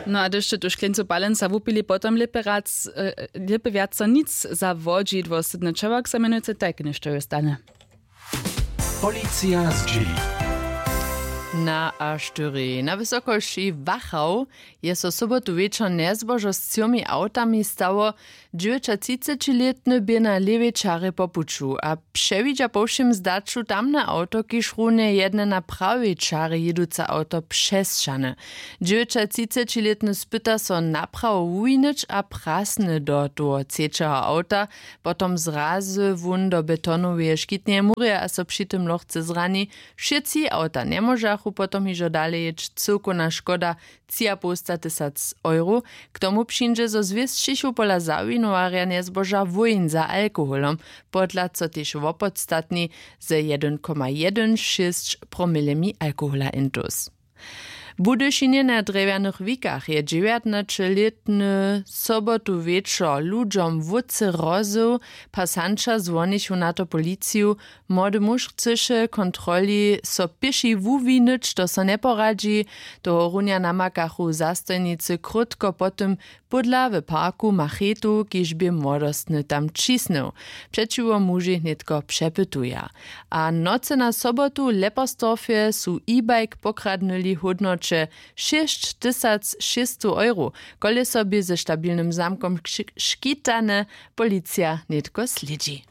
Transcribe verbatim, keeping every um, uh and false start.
No a hdyž sće tu škleńcu palenca wupili potom lěpy wjac, lěpy wjaco nic za wodźidło sydny čewak zamenujcy tajke něšto je stane. Policija zdźěli. Na a štyri na wysokości wachał je so sobotu wječor njezbožo z třomi awtami stało. Dźewjećatřicećilětny bě na lěwej čarje po puću a přewidźa po wšěm zdaću tamne awto kiž runje jedne na prawej čarje jěduce awto přesćahny. Dźewjećatřicećilětny spyta so naprawo wuwinyć a prasny do toho třećeho awta. Potom zrazy wón do betonoweje škitneje murje a so při tym lochce zrani. Wšětři awta njemóžachu potom hižo dale jěć cyłkowna škoda třiapołstatysac euro. K tomu přińdźe zo zwěsćichu pola zawinowarja njezboža wójn za alkoholom. Podla co tež wopodstatni ze jedyn koma jedyn šěsć promilemi alkohola intus. W budyšinje na drjewjanych wikach je dźewjatnaćelětny sobotu wječor ludźom wótře rozył. Pasanća zwonichu na to policiju. Młody muž chcyše kontroli so pěši wuwinyć to so njeporadźi. Tohorunja namakachu zastojnicy krótko po tym, pódla w parku machetu kiž bě młodostny tam ćisnył. Přećiwo mužej nětko přepytuja. A w nocy na sobotu w leperstorfje su e-bike pokradnyli w hódnoće šěsćtysac šěsćstow euro. Koleso bě ze stabilnym zamkom škitane. Policija nětko slědźi.